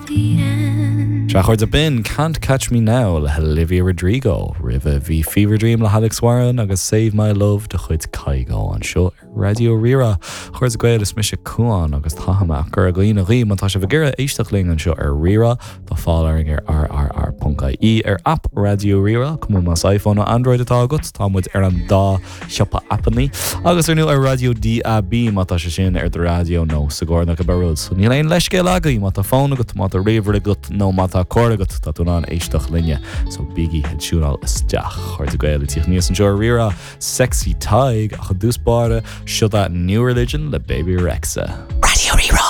the end. Sea, a chairde, b'in Can't Catch Me Now le hOlivia Rodrigo. Roimhe bhí Fever Dream le hAlex Warren agus Save My Love de chuid Kygo anseo ar Raidió Rí-Rá. A chairde Gael, is mise Cuán agus táim ag cur glaonna dhaoibh má tá sibh ag iarraidh éisteacht linn anseo ar Rí-Rá, tá fáil orainn ar rrr.ie, ar aip Raidió Rí-Rá, cuma más iPhone nó Android atá agat, tá muid ar an dá shiopa aipeanna, agus ar ndóigh ar raidió DAB má tá sé sin ar do raidió nó sa gcarr nó cibé rud. So níl aon leithscéal agaibh má tá fón agat, má tá ríomhaire agat nó má tá carr agat, tá tú in ann éisteacht linne. So bígí ag tiúnáil isteach. A chairde Gael ag tíocht aníos anseo ar Rí-Rá, Sexy Tadhg, ach i dtús báire, seo é New Religion le Bebe Rexha. Raidió Rí-Rá.